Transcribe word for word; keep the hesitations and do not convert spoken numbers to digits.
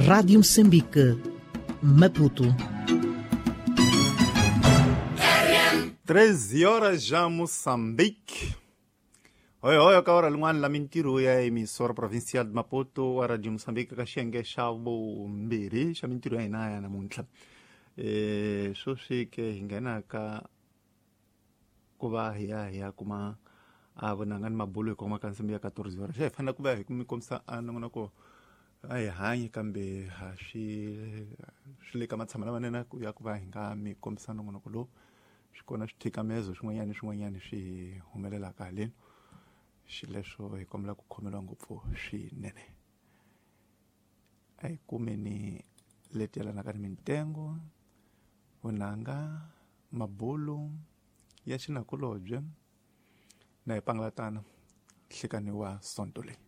Rádio Moçambique, Maputo. treze horas já Moçambique. Oi, oi, ka hora lin'wana la mintirho ya emissora provincial de Maputo wa Radio Moçambique ka xiyenge xa vumbirhi xa mintirho ya hina ya namuntlha. Eh, sweswi ke hi nghena ka ku va hi ya hi ya kuma a vonanga ni mabulo hi kongoma ka nsimbi ya quatorze horas. Xa hi fanele ku va hi mi kombisa a nongonoko a hi hanyi kambe ha swi swi le ka matshamo lamanene ku ya ku va hi nga mi kombisa nongonoko lowu. Swi kona swithikamezo swin'wanyana ni swin'wanyana swi humelelaka haleni, xileswo hi kombela ku khomeriwa ngopfu swinene. A hi kumeni leti yelanaka ni mintengo, vunanga, mabulo ya xinakulobye na hi pangalatana nhlekani wa sonto leyi.